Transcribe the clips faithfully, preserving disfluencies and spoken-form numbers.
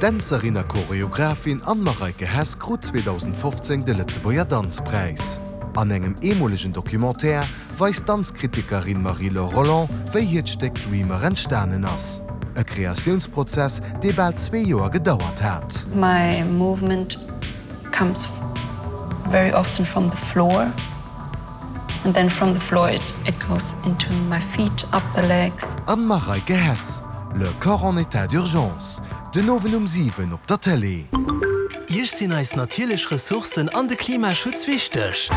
D'Dänzerin a Choreographin Anne-Mareike Hess krut zweedausendfofzéng de Lëtzebuerger Danzpräis. An engem eemolegen Documentaire weist d'Danzkritikerin Marie-Laure Rolland, wéi hiert Stéck Dreamer entstanen ass. E Kreatiounsprozess, dee bal zwee Joer gedauert hat. My movement comes very often from the floor and then from the floor it, it goes into my feet, up the legs. Anne-Mareike Hess, Le corps en état d'urgence, den Owend um siwen op der Tëlee. Iech sinn eis natierlech Ressourcen an de Klimaschutz wichteg?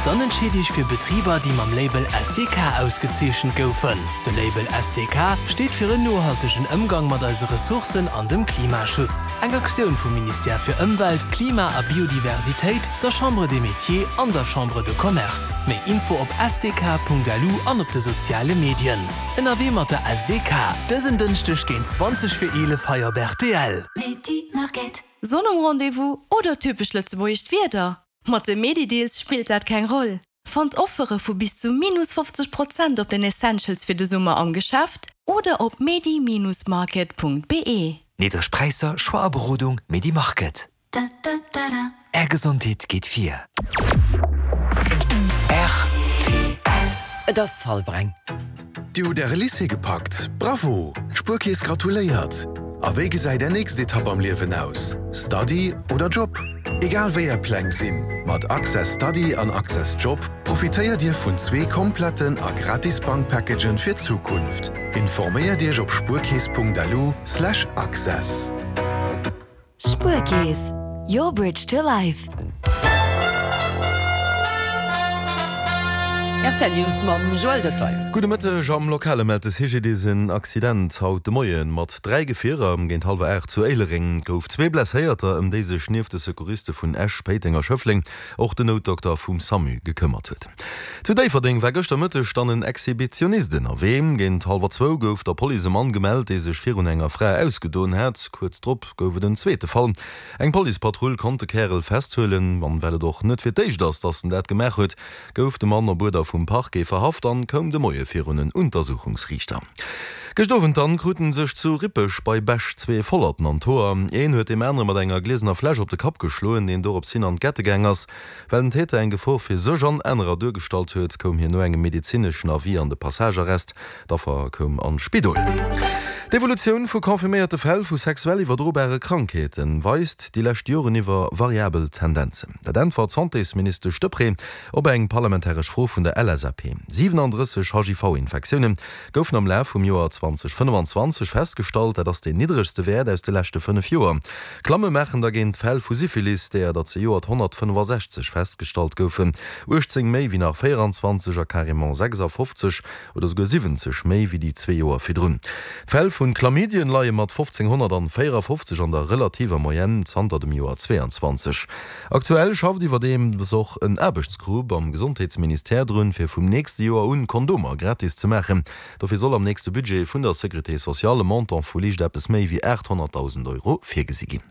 Dann entscheet Iech fir Betriber, déi mam Label S D K ausgezeechent goufen. De Label S D K steet fir en nohaltegen Ëmgang mat eise Ressourcen an dem Klimaschutz. Eng Aktioun vum Ministère fir Ëmwelt, Klima a Biodiversitéit, der Chambre des Métiers an der Chambre de Commerce. Méi Info op S D K Punkt L U an op de soziale Medien. Ënnerwee mat der S D K. Dësen Dënschdeg géint zwanzeg vir eelef hei op R T L. Sonn um Rendez-vous oder typesch lëtzebuergescht Wieder? Mat de Medi-Deals spillt dat keng Roll. Fannt Offere vu bis zu minus fofzeg Prozent op den Essentials fir de Summer am Geschäft oder op medi-market Punkt be. Niddreg Präisser, Choix a Berodung, Medi Market. Är Gesondheet geet vir. R T L. Et ass hallwer eng. Dir hutt Äre Lycée gepackt? Bravo! D'Spuerkeess gratuléiert! A wéi gesäit Är nächst Etapp am Liewen aus? Study oder Job? Egal wéi Är Pläng sinn, mat Access Study an Access Job profitéiert Dir vun zwee kompletten a gratis Bankpackagen fir d'Zukunft. Informéiert Iech op spuerkeess Punkt L U slash access. Spuerkeess, your bridge to life. R T L News mam Joël Detail. Gudde Mëtteg. Am Lokale mellt de C G D I S en Accident haut de Moie mat dräi Gefierer géint hallwer aacht zu Éilereng. Et gouf zwee Blesséierter, ëm déi sech nieft de Secouriste vun Esch, Péiteng a Schëffleng och den Noutdokter vum SAMU gekëmmert huet. Zu Déifferdeng war gëschter Mëtteg dann en Exhibitionist ënnerwee. Géint hallwer zwou gouf der Police e Mann gemellt, dee sech virun enger Fra ausgedoen hat. Kuerz drop gouf et en zweete Fall. Eng Policepatrull konnt de Kärel festhuelen. An well et och net fir d'éischt ass, datt en dat gemaach huet, gouf de Mann op Uerder vum Parquet verhaft an koum de Moie virun en Untersuchungsriichter. Gëscht Owend dann kruten sech zu Rippeg bei Bech zwee Vollerten an d'Hoer. Een huet deem anere mat enger gliesener Fläsch op de Kapp geschloen, deen dorops hin an d'Gette gaang ass. Well den Täter eng Gefor fir sech an anerer duergestallt huet, koum hien no engem medezineschen Avis an de Passagearrest. D'Affer koum an d'Spidol. D'Evolutioun vu confirméierte Fäll vu sexuell iwwerdrobare Krankheete weist déi lescht Joren iwwer variabel Tendenzen. Dat äntwert d'Santésministesch Deprez op eng parlamentaresch Fro vun der L S A P. siwenandrësseg H I V-Infektioune goufen am Laf vum Joer zweedausendfënnefanzwanzeg festgestallt, dat ass deen niddregste Wäert aus de leschte fënnef Joer. Klamme maachen dergéint d'Fäll vu Syphilis, deeër der zejoert honnertfënnefasechzeg festgestallt goufen, uechtzéng méi wéi nach véieranzwanzeg a carrément sechsafofzeg oder souguer siwwenzeg méi wéi déi zwee Joer virdrun. D'Fäll vun Chlamydien leie mat fofzénghonnertvéierafofzeg an der relativer Moyenne zanter dem Joer zwéianzwanzeg. Aktuell schafft iwwerdeems och en Aarbechtsgrupp am Gesondheetsministère drun, fir vum nächste Joer un Kondomer gratis ze maachen. Dofir soll am nächste Budget vun der Sécurité sociale e Montant vu liicht eppes méi wéi aathonnertdausend Euro virgesi ginn.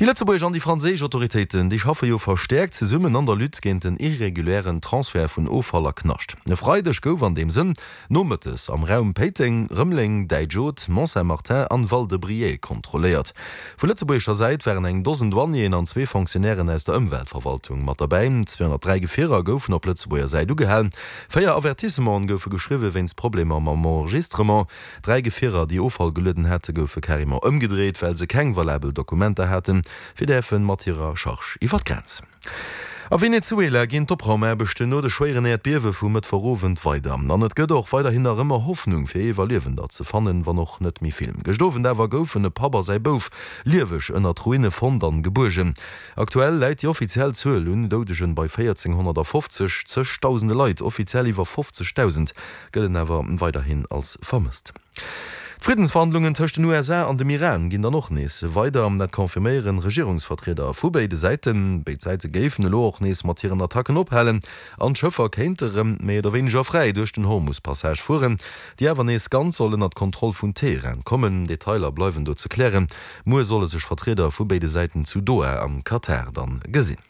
Déi lëtzebuergesch an déi franséisch Autoritéiten, déi schaffe jo verstäerkt zesummen an der Lutte géint den irregulären Transfert vun Offall a Knascht. E Freideg gouf an deem Sënn nomëttes am Raum Péiteng, Rëmeleng, Däitsch-Oth, Mont-Saint-Martin an Val-de-Briey kontrolléiert. Vu lëtzebuergescher Säit waren eng Dosen Douanieren an zwee Fonctionnairen aus der Ëmweltverwaltung mat derbäi. zweehonnertdräi Gefierer goufen op Lëtzebuerger Säit ugehalen. Véier Avertissementen goufe geschriwwe wéinst Problemer mam Enregistrement. Dräi Gefierer, déi Offall gelueden hate, goufe carrément ëmgedréit, well se keng valabel Dokumenter haten, fir däerfe mat hirer Charge iwwer d'Grenz. A Venezuela ginn d'Opraumaarbechten no de schwéieren Äerdbiewe vum Mëttwochowend weider. An et gëtt och weiderhin nach ëmmer Hoffnung fir Iwwerliewender ze fannen, wann och net méi vill. Gëscht Owend awer goufen e Papp a säi Bouf lieweg ënnert Ruine fonnt an gebuergen. Aktuell läit déi offiziell Zuel un Doudegen bei véierzénghonnertfofzeg, zegdausende Leit, offiziell iwwer fofzegdausend, gëllen awer weiderhin als vermësst. D'Friddensverhandlungen tëscht den U S A an dem Iran ginn dann och nees weider, dat confirméieren Regierungsvertrieder vu béide Säiten. Béid Säite géifen elo och nees mat hiren Attacken ophalen an d'Schëffer kéinte rëm méi oder wéineger fräi duerch den Hormus-Passage fueren, déi awer nees ganz soll ënnert d'Kontroll vun Teheran kommen. Detailer bleiwen do ze klären. Muer solle sech Vertrieder vu béide Säiten zu Doha am Katar dann gesinn.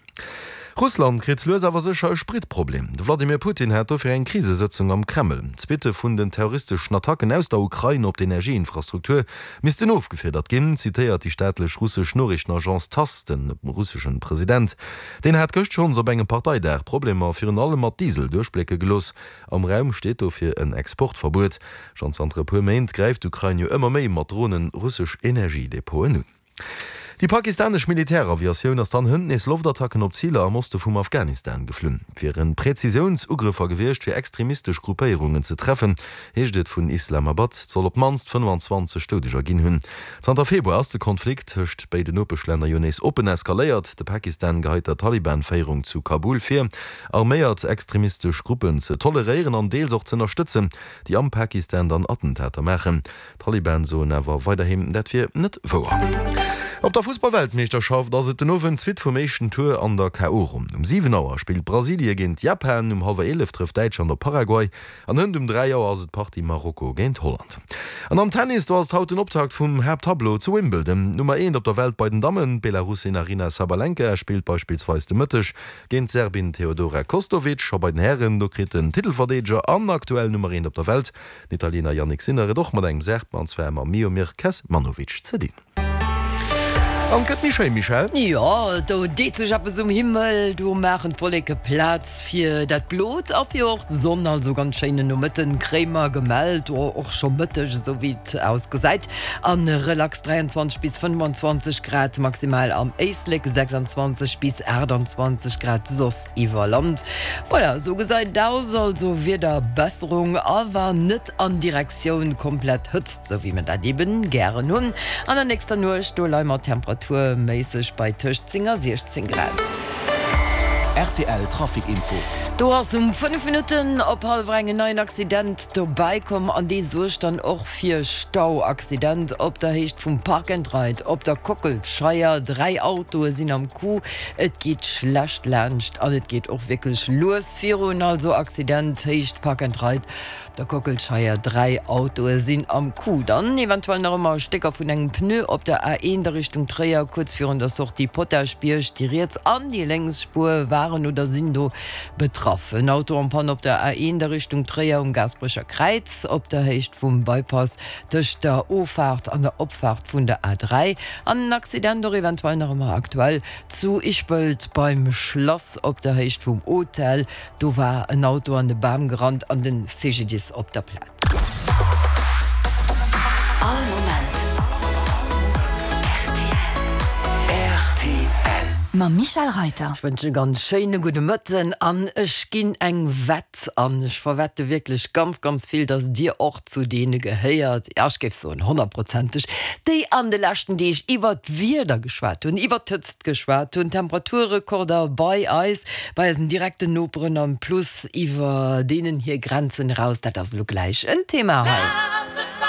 Russland kritt lues awer sécher e Spritproblem. De Wladimir Putin hat dofir eng Krisesëtzung am Kreml. D'Suitte vun den terroristeschen Attacken aus der Ukrain op d'Energieinfrastruktur missten ofgefiedert ginn, zitéiert déi staatlech russesch Noriichtenagence Tass de russeschen President. Deen hat gëscht schonns op engem Parteidag Problemer virun allem mat Diesel duerchblécke gelooss. Am Raum steet dofir en Exportverbuet. Schonn zanter e puer Méint gräift d'Ukrain jo ëmmer méi mat Dronen russesch Energiedepoten un. Déi pakistanesch Militäraviatioun ass dann hënt nees Loftattacken op Ziler am Oste vum Afghanistan geflunn. Et wiere Präzisiouns-Ugrëffer gewiescht, fir extremistesch Gruppéierungen ze treffen, heescht et vun Islamabad. Et soll op d'mannst fënnefenzwanzeg Doudeger ginn hunn. Zanter Februar ass de Konflikt tëscht béiden Nopeschlänner jo nees oppen eskaléiert. De Pakistan geheit der Taliban-Féierung zu Kabul vir, arméiert extremistesch Gruppen ze toleréieren an deels och z'ënnerstëtzen, déi am Pakistan dann Attentater maachen. D'Taliban soen awer weiderhin, dat wier net wouer. Op der Fussballweltmeeschterschaft ass et den Owend d'Suite vum éischten Tour an der K O Ronn. Um siwen Auer spillt Brasilie géint Japan, um hallwer eelef trëfft Däitschland op Paraguay an hënt um dräi Auer ass et d'Partie Marokko géint Holland. An am Tennis, do ass et haut den Optakt vum Haapttableau zu Wimbledon. D'Nummer eent op der Welt bei den Dammen, d'Belarussin Aryna Sabalenka, spillt beispillsweis de Mëtteg géint d'Serbin Teodora Kostovic. A bei den Hären, do kritt den Titelverdeedeger an aktuell Nummer eent op der Welt, den Italiener Jannik Sinner, et och mat engem Serb, an zwar mam Miomir Kecmanovic ze dinn. An et gëtt méi schéin, Michèle? Jo, do deet sech eppes um Himmel, do maachen d'Wolleke Plaz fir dat Blot a fir och d'Sonn. Also ganz schéinen Nomëtten kréie mer gemellt, och scho Mëtteg, esou wéi et ausgesäit. A relax dräianzwanzeg bis fënnefenzwanzeg Grad maximal am Éislek, sechsanzwanzeg bis aachtanzwanzeg Grad soss iwwer Land. Voilà, esou gesäit et aus, also Wiederbesserung, awer net an Direktioun komplett Hëtzt, esou wéi mer dat eben gären hunn. An der nächster Nuecht, do leie mer temperaturméisseg bei tëscht zéng a siechzéng Grad. Rtl Trafic Info. Do ass um fënnef Minutten op hallwer eng en neien Accident dobäi komm an dee suergt dann och fir Stau. Accident op der Héicht vum Park and Ride op der Kockelscheier. Dräi Autoe sinn am Coup. Et geet schlecht laanscht an et geet och wierklech lues virun. Also Accident Héicht Park and Ride op der Kockelscheier, dräi Autoe sinn am Coup. Dann eventuell nach ëmmer Stécker vun engem Pneu op der A eent a Richtung Tréier, kuerz virun der Sortie Potaschbierg. Déi riets an déi lénks Spuer waren oder sinn do betraff. En Auto en panne op der A eent a Richtung Tréier um Gaasperecher Kräiz, op der Héicht vum Bypass tëscht der Offaart an der Opfaart vun der A dräi. An en Accident och eventuell nach ëmmer aktuell zu Ischpelt beim Schlass op der Héicht vum Hotel. Do war en Auto an de Bam gerannt an den C G D I S op der Plaz. All Moment rtl. Mam Michèle Reyter. Ech wënschen e ganz schéine gudde Mëtten an ech ginn eng Wett an. Ech verwette wierklech ganz, ganz vill, dass Dir och zu deene gehéiert, ja ech géif soen honnertprozenteg, déi an de leschten Deeg iwwert d'Wieder geschwat hunn, iwwert d'Hëtzt geschwat hunn, Temperaturrekorder bei eis, bei eisen direkten Noperen an plus iwwer deenen hir Grenzen eraus. Dat ass elo gläich en Thema hei.